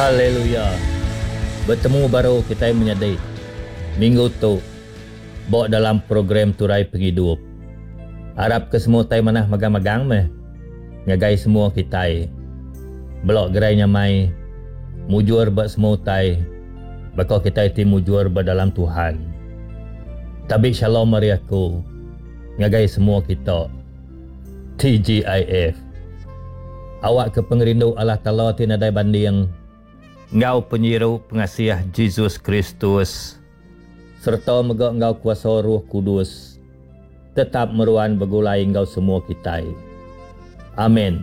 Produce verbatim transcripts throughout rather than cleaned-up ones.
Haleluya! Betemu baru kitai menyadi minggu tu ba dalam program Turai Pengidup. Arap ke semua utai manah magang-magang meh ngagai semua kitai. Bela gerai nyamai, mujur ba semua utai baka kitai ti mujur ba dalam Tuhan. Tabi shalom ari aku ngagai semua kita. T G I F. Awakka pengerindu Allah Taala ti nadai banding enggau penyiru pengasih Jesus Kristus sereta mega enggau kuasa Roh Kudus tetap meruan begulai enggau semua kitai. Amen.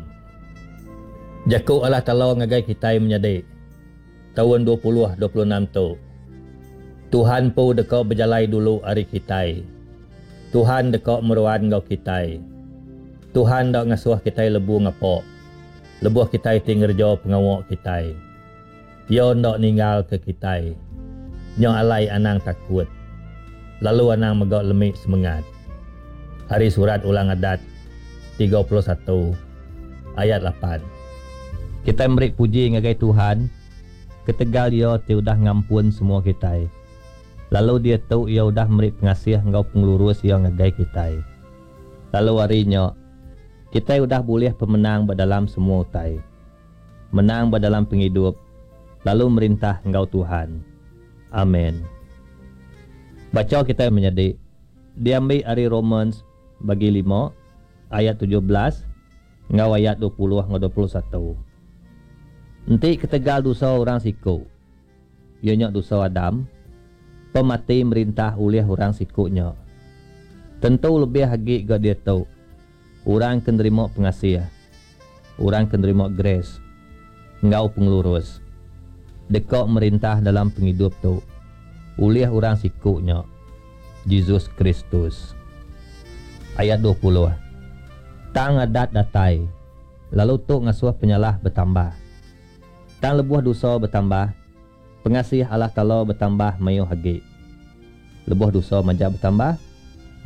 Jaku Allah Taala ngagai kitai menyadi taun dua puluh dua puluh enam tu. Tuhan pu deka bejalai dulu ari kitai. Tuhan deka meruan enggau kitai. Tuhan dak ngasuh kitai lebu ngapok. Lebuh kitai ti ngereja pengawa kitai. Ia ndak ninggal ke kitai. Nya alai anang takut. Lalu anang mega lemik semengat. Ari surat Ulang Adat tiga puluh satu ayat lapan. Kitai meri puji ngagai Tuhan ketegal Ia ti udah ngampun semua kitai. Lalu dia tu Ia udah meri pengasih enggau pengelurus Ia ngagai kitai. Lalu hari nya kitai udah boleh pemenang ba dalam semua utai. Menang ba dalam pengidup lalu merintah enggau Tuhan. Amen. Baca kitai menyadi diambil ari Romans bagi lima ayat tujuh belas enggau ayat dua puluh enggau dua puluh satu. Enti ketegal dosa orang siku, ia nya dosa Adam, pemati merintah oleh orang siku nya. Tentu lebih agi ga dia tu, orang ke nerima pengasih, orang ke nerima grace enggau pengelurus, deka merintah dalam pengidup tu oleh orang siku nya, Jesus Kristus. Ayat dua puluh. Tang adat datai, lalu tu ngasuh penyalah bertambah. Tang lebuh dosa bertambah, pengasih Allah Taala bertambah mayuh agi. Lebuh dosa majak bertambah,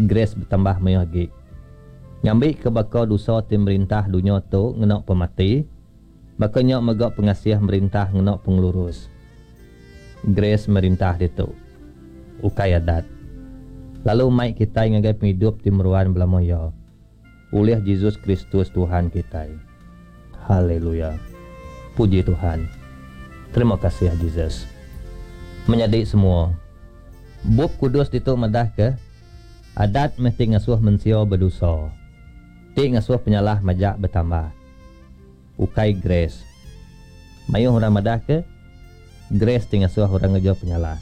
grace bertambah mayuh agi. Ngambi ke baka dosa ti merintah dunia tu ngena pemati, baka nya mega pengasih merintah ngena pengelurus. Grace merintah ditu, ukai adat. Lalu mai kitai ngagai pengidup ti meruan belama ia, oleh Jesus Kristus Tuhan kitai. Haleluya. Puji Tuhan. Terima kasih Jesus. Menyadi semua, Bup Kudus ditu madah ke adat mesti ngasuh mensia berdosa, ti ngasuh penyalah majak bertambah. Ukai grace. Mayuh orang madah ke grace ti ngasuh orang ngereja penyalah.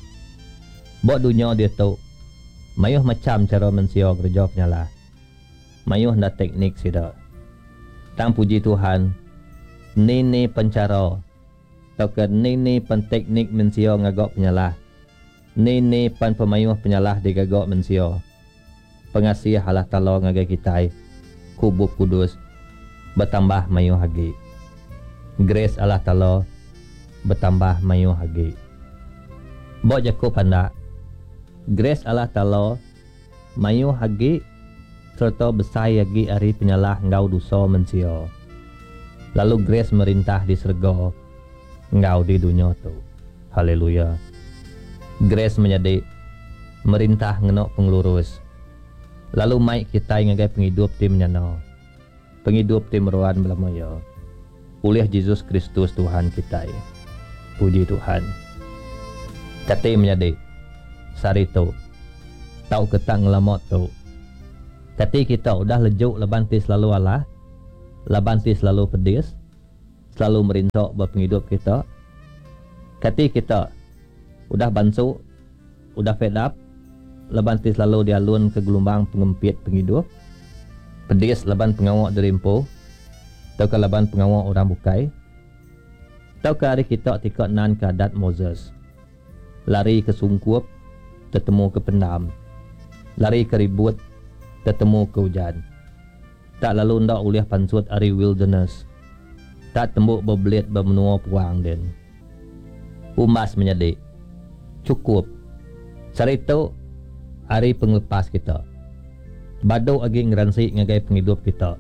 Ba dunia dia tu mayuh macam cara mensia ngereja penyalah. Mayuh nda teknik sida. Tang puji Tuhan, ni-ni pencara tauka ni-ni penteknik mensia ngagak penyalah. Ni-ni pen pemayuh penyalah digagak mensia. Pengasih Allah Taala ngagai kitai, ku Bup Kudus bertambah mayuh agi. Grace Allah Taala bertambah mayuh agi. Ba jaku pandak, grace Allah Taala mayuh agi serta besai agi ari penyalah enggau dosa mensia. Lalu grace merintah di serega enggau di dunia tu. Haleluya. Grace menjadi merintah ngena pengelurus. Lalu mai kitai ngagai pengidup ti menyana. Pengidup ti meruan belama ia. Oleh Jesus Kristus Tuhan kitai. Puji Tuhan. Kati menjadi sehari tu tau ke tak ngelama tu. Kati kita udah lejuk laban ti selalu alah, laban ti selalu pedis, selalu merintok ba pengidup kita. Kati kita udah bansu, udah fed up, laban ti selalu dialun ke gelombang pengempit pengidup, pedis laban pengawak dirimpu, tau ke laban pengawak orang bukai, tau ke hari kita tika nan ke adat Moses, lari ke sungkup, tetemu ke pendam, lari ke ribut, tetemu ke hujan. Tak lalu ndak ulih pansut ari wilderness. Tak tembuk berbelit bermenua puang den. Umas menjadi cukup. Sari tu hari penglepas kita. Badu agi ngeransi ngagai pengidup kita.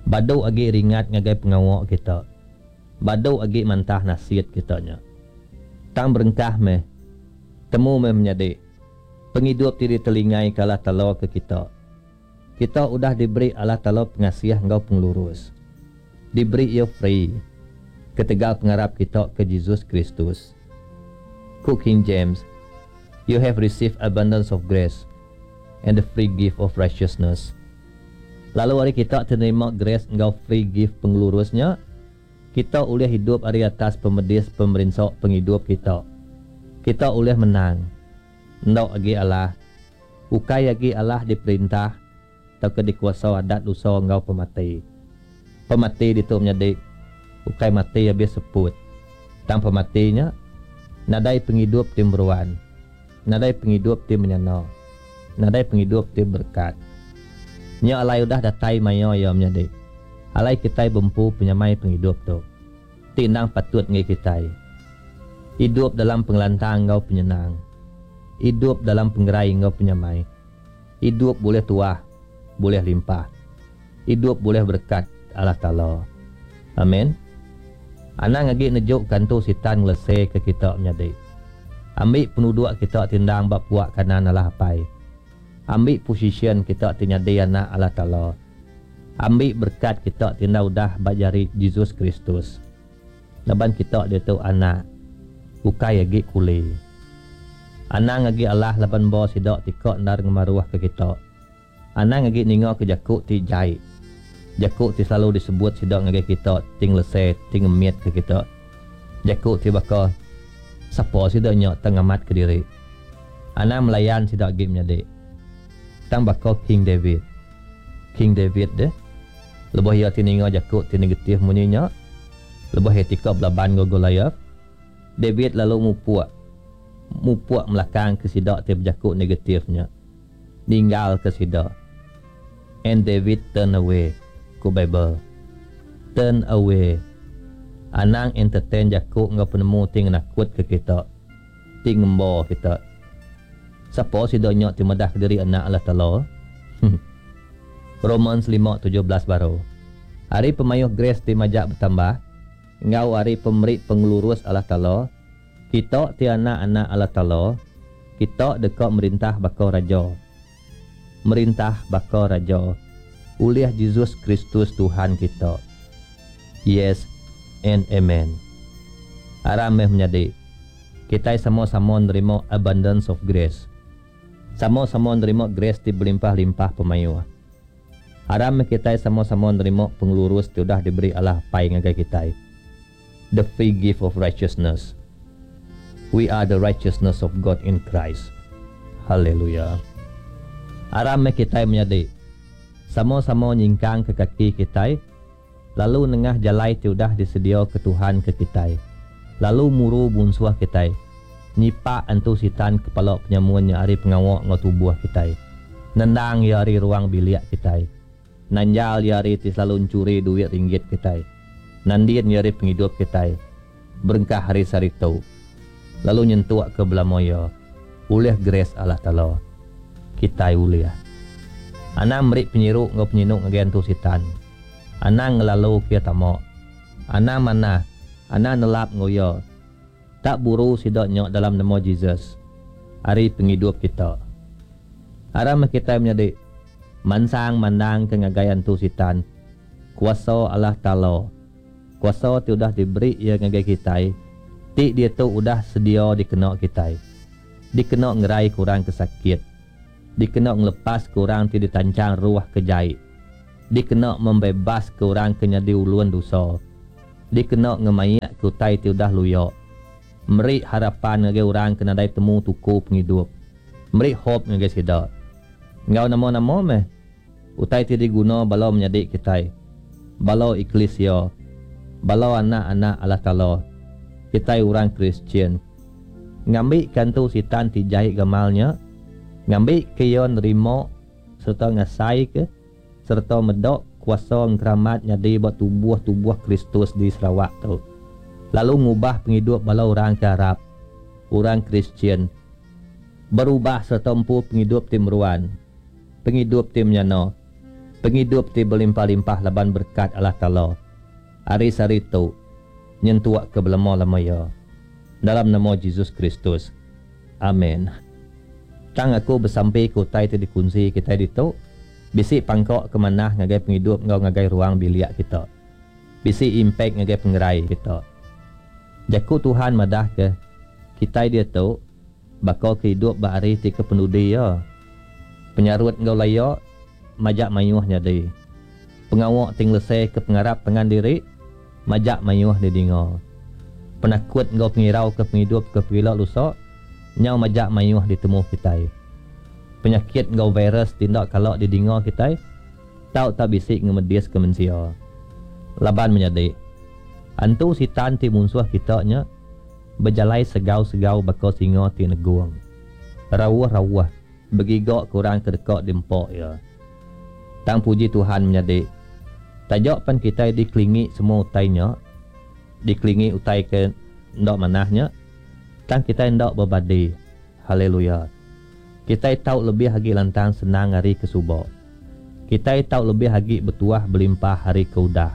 Badu agi ringat ngagai pengawak kita. Badu agi mantah nasit kita nya. Tang berengkah meh. Temu meh menyadi. Pengidup ti ditelingaika Allah Taala ke kita. Kita udah diberi Allah Taala pengasih enggau pengelurus. Diberi Iya free ketegal pengarap kita ke Jesus Kristus. Ku King James, You have received abundance of grace and the free gift of righteousness. Lalu ari kita ti nerima grace enggau free gift pengelurus nya, kita ulih idup ari atas pemedis pemerinsa pengidup kita. Kita ulih menang. Enda agi alah. Ukai agi alah diperintah tauka dikuasa adat dosa enggau pemati. Pemati ditu menyadi ukai mati abis seput. Tang pemati nya nadai pengidup ti meruan, nadai pengidup ti menyana, nadai pengidup ti berekat. Nya alai udah datai maya iya menyadi alai kitai bempu penyamai pengidup tu ti endang patut enggai kitai. Idup dalam pengelantang enggau penyenang. Idup dalam pengerai enggau penyamai. Idup bulih tuah, bulih limpah. Idup bulih berekat Allah Taala. Amen. Anang agi nejuka antu sitan ngeleseka kita menyadi. Ambi penuduk kita ti endang ba puak kanan Allah Apai. Ambi posisyen kita ti nyadi anak Allah Taala. Ambi berekat kita ti enda udah ba jari Jesus Kristus. Laban kita diatu anak, ukai agi kuli. Anang agi alah laban ba sida ti ka endar ngemaruhka kita. Anang agi ningaka jaku ti jai, jaku ti selalu disebut sida ngagai kita ti ngelese, ti ngemitka kita. Jaku ti baka, Sapa sida nya tang ngamatka diri? Anang melayan sida agi menyadi. Tang baka King David. King David deh, lebuh iya ti ninga jaku ti negatif munyi nya, lebuh iya ti ka belaban enggau Goliath, David lalu mupuk, mupuk melakangka sida ti bejaku negatif nya. Ninggalka sida. And David turn away, ku Bible. Turn away. Anang entertain jaku enggau penemu ti ngenakutka kita, ti ngemba kita. Sapa sida nya ti madahka diri anak Allah Taala? Romans lima tujuh belas baru. Ari pemayuh grace ti majak betambah, enggau ari pemeri pengelurus Allah Taala, kita ti anak-anak Allah Taala, kita deka merintah baka raja. Merintah baka raja ulih Jesus Kristus Tuhan kita. Yes and amen. Aram meh menyadi, kitai sama-sama nerima abundance of grace. Sama-sama nerima grace ti belimpah-limpah pemayuh. Aram meh kitai sama-sama nerima pengelurus ti udah diberi Allah Apai ngagai kitai. The free gift of righteousness. We are the righteousness of God in Christ. Hallelujah. Aram meh kitai menyadi, sama-sama nyingkangka kaki kitai lalu nengah jalai ti udah disediaka Tuhan ke kitai, lalu muru munsuh kitai, nyipak antu sitan kepala penyamun nya ari pengawa enggau tubuh kitai, nendang iya ari ruang bilik kitai, nanjal iya ari ti selalu enchuri duit ringgit kitai, nandin iya ari pengidup kitai, berengkah ari sehari tu, lalu nyentukka belama iya, ulih grace Allah Taala. Kitai ulih. Anang meri penyiru enggau penyinu ngagai antu sitan. Anang ngelalu ke iya tama. Anang manah, anang nelap enggau iya. Tak buru sida nya dalam nama Jesus ari pengidup kita. Aram meh kitai menyadi mansang mandangka ngagai antu sitan kuasa Allah Taala, kuasa ti udah diberi Iya ngagai kitai ti diatu udah sedia dikena kitai, dikena ngeraika orang ke sakit, dikena ngelepaska orang ti ditanchang ruh ke jai, dikena membebaska orang ke nyadi ulun dosa, dikena ngemaikka utai ti udah luya, meri harapan ngagai orang ke nadai temu tuku pengidup, meri hope ngagai sida. Enggau nama-nama meh utai ti diguna bala menyadi kitai, bala eklisia, bala anak-anak Allah Taala, kitai orang Kristian, ngambika antu sitan ti jai gamal nya, ngambika iya nerima sereta ngasaika sereta meda kuasa engkeramat nyadi ba tubuh-tubuh Kristus di Sarawak tu, lalu ngubah pengidup bala orang ke arap, orang Kristian, berubah sereta empu pengidup ti meruan, pengidup ti menyana, pengidup ti belimpah-limpah laban berekat Allah Taala. Ari sehari tu, nyentuk ke belama-lama iya. Dalam nama Jesus Kristus. Amen. Tang aku besampi ke utai ti dikunsi kitai ditu bisi pangka ke manah ngagai pengidup enggau ngagai ruang bilik kita. Bisi impact ngagai pengerai kita. Jaku Tuhan madah ke kitai diatu baka ke idup ba hari ti ke penudi iya. Penyarut enggau laya majak mayuh nyadi. Pengawa ti ngelese ke pengarap pangan diri majak mayuh didinga. Penakut enggau pengirau ke pengidup ke pegila lusa nyau majak mayuh ditemu kitai. Penyakit enggau virus ti enda kala didinga kitai tau tak bisi ngemedis ke mensia. Laban menyadi, antu sitan ti munsuh kita nya bejalai segau-segau baka singa ti negung. Rauh-rauh begiga ke orang ke deka diempa iya. Tang puji Tuhan menyadi, taja pan kitai dikelingi semua utai nya, dikelingi utai ke enda manah nya, tang kitai enda bebadi. Haleluya. Kitai tau lebih agi lantang senang ari ke suba. Kitai tau lebih agi betuah belimpah ari ke udah.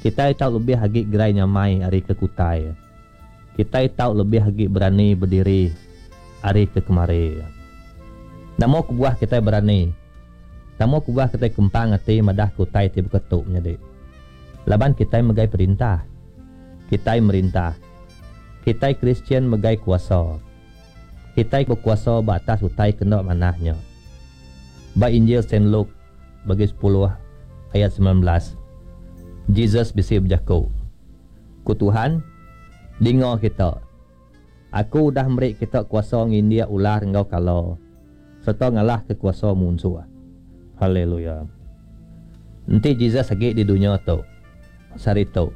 Kitai tau lebih agi gerai nyamai ari ke kutai. Kitai tau lebih agi berani bediri ari ke kemari. Nama kebuah kitai berani? Nama kebuah kitai kempang ati madah ke utai ti baka tu menyadi? Laban kitai megai perintah. Kitai merintah. Kitai Kristian megai kuasa. Kitai bekuasa ba atas utai ke enda manah nya. Ba Injil Saint Luke bagi sepuluh ayat semilan belas, Jesus bisi bejaku, Ku Tuhan, Dinga kita, Aku udah meri kita kuasa ngindik ular enggau kala, sereta ngalahka kuasa munsuh. Haleluya. Enti Jesus agi di dunya tu, sehari tu,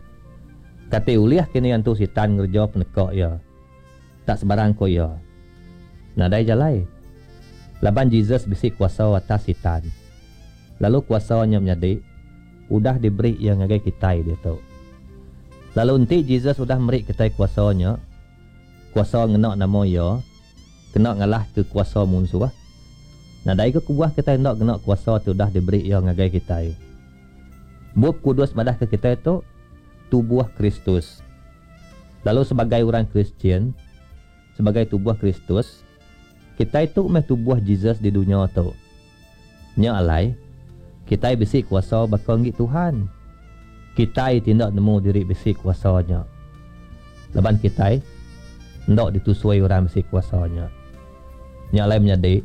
kati ulih kini antu sitan ngereja peneka iya? Tak sebarang ko iya. Nadai jalai. Laban Jesus bisi kuasa atas sitan. Lalu kuasa nya menyadi udah diberi iya ngagai kitai diatu. Lalu enti Jesus udah meri kitai kuasa nya, kuasa ngena nama iya, kena ngalahka kuasa munsuh, nadai ke kebuah kitai enda ngena kuasa ti udah diberi iya ngagai kitai. Bup Kudus madahka kitai tu tubuh Kristus. Lalu sebagai orang Kristian, sebagai tubuh Kristus, kitai tu meh tubuh Jesus di dunya tu. Nya alai, kitai bisi kuasa baka enggi Tuhan. Kitai ti enda nemu diri bisi kuasa nya. Laban kitai enda ditusui orang bisi kuasa nya. Nya alai menyadi,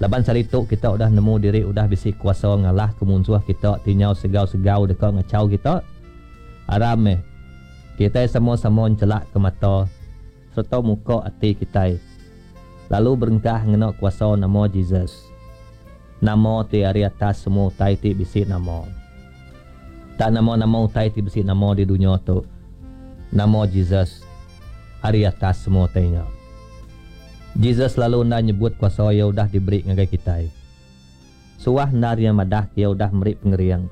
laban sehari tu kita udah nemu diri udah bisi kuasa ngalahka munsuh kita ti nyau segau-segau deka ngachau kita, aram meh kitai sama-sama enchelakka mata sereta muka ati kitai lalu berengkah ngena kuasa nama Jesus. Nama ti ari atas semua utai ti bisi nama. Tak nama-nama utai ti bisi nama di dunya tu, nama Jesus ari atas semua utai nya. Jesus lalu enda nyebut kuasa iya udah diberi ngagai kitai. Suah endar iya madah ke iya udah meri pengering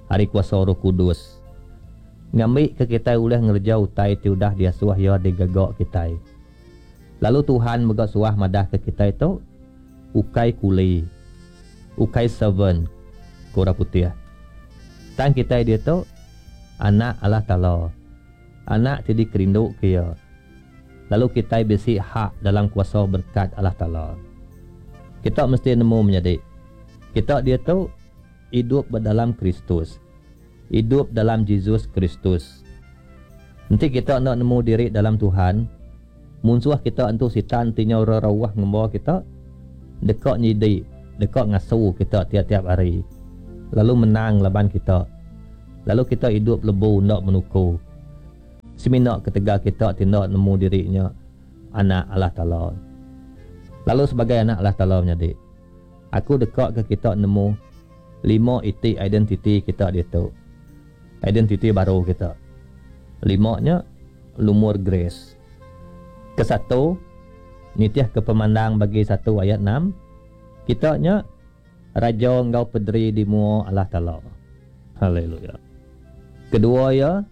ari kuasa Roh Kudus ngambika kitai ulih ngereja utai ti udah diasuh iya digaga kitai. Lalu Tuhan mega suah madahka kitai tu ukai kuli, ukai servant, ku orang putih. Tang kitai diatu anak Allah Taala, anak ti dikerinduka Iya. Lalu kitai bisi hak dalam kuasa berekat Allah Taala. Kita mesti nemu menyadi, kita diatu idup ba dalam Kristus, idup dalam Jesus Kristus. Enti kita enda nemu diri dalam Tuhan, munsuh kita entu sitan ti nyau rerauh ngemba kita, deka nyidi, deka ngasu kita tiap-tiap hari, lalu menang laban kita, lalu kita idup lebu enda menuku, semina ketegal kita ti enda nemu diri nya anak Allah Taala. Lalu sebagai anak Allah Taala menyadi, aku deka ke kita nemu lima iti identiti kita diatu. Identiti baru kita. Lima nya lumur grace. Kesatu, nitih ke Pemandang bagi satu ayat enam, kita nya raja enggau pederi di mua Allah Taala. Haleluya. Kedua iya,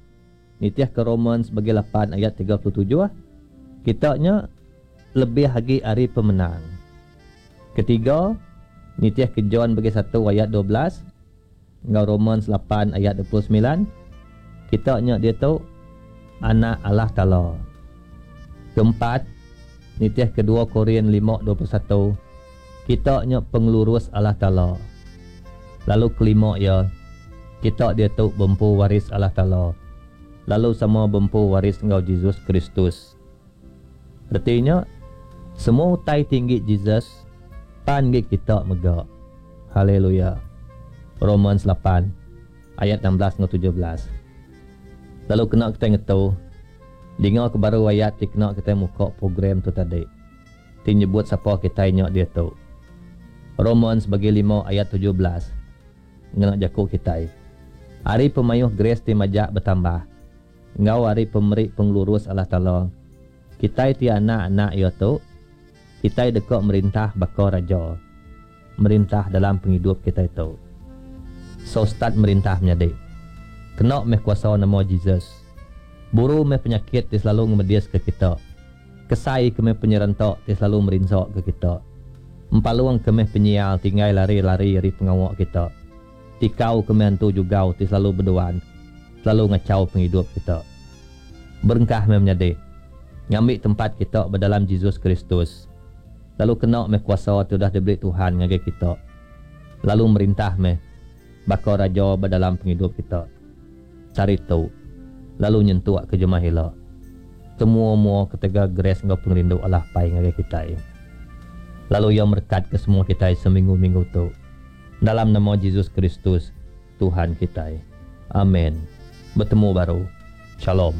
nitih ke Romans bagi lapan ayat tiga puluh tujuh, kita nya lebih agi ari pemenang. Ketiga, nitih ke John bagi satu ayat dua belas enggau Romans lapan ayat dua puluh semilan, kita nya diatu anak Allah Taala. Keempat, nitih ke dua Korin lima dua puluh satu, kita nya pengelurus Allah Taala. Lalu kelima iya, kita diatu bempu waris Allah Taala, lalu sama bempu waris enggau Jesus Kristus. Reti nya, semua utai ti enggi Jesus pan enggi kita mega. Haleluya. Romans lapan ayat enam belas enggau tujuh belas. Lalu kena kitai ngetu, dinga ke baru ayat ti kena kitai muka program tu tadi, ti nyebut sapa kitai nya diatu. Romans bagi lima ayat tujuh belas ngena jaku kitai. Ari pemayuh grace ti majak betambah, enggau ari pemeri pengelurus Allah Taala, kitai ti anak-anak iya tu, kitai deka merintah baka raja, merintah dalam pengidup kitai tu. So start merintah menyadi. Kena meh kuasa nama Jesus. Buru meh penyakit ti selalu ngemedis ke kita. Kesai ke meh penyerenta ti selalu merinsa ke kita. Empalung ke meh penyial ti enggai lari-lari ari pengawa kita. Tikau ke meh antu jugau ti selalu beduan, selalu ngachau pengidup kita. Berengkah meh menyadi, ngambi tempat kita ba dalam Jesus Kristus. Lalu kena meh kuasa ti udah diberi Tuhan ngagai kita. Lalu merintah meh baka raja ba dalam pengidup kita. Sehari tu, lalu nyentuk ke jemah ila. Semua-mua ketegal grace enggau pengerindu Allah Apai ngagai kitai. Lalu Iya merekat ke semua kitai seminggu-minggu tu. Dalam nama Jesus Kristus, Tuhan kitai. Amen. Betemu baru. Shalom.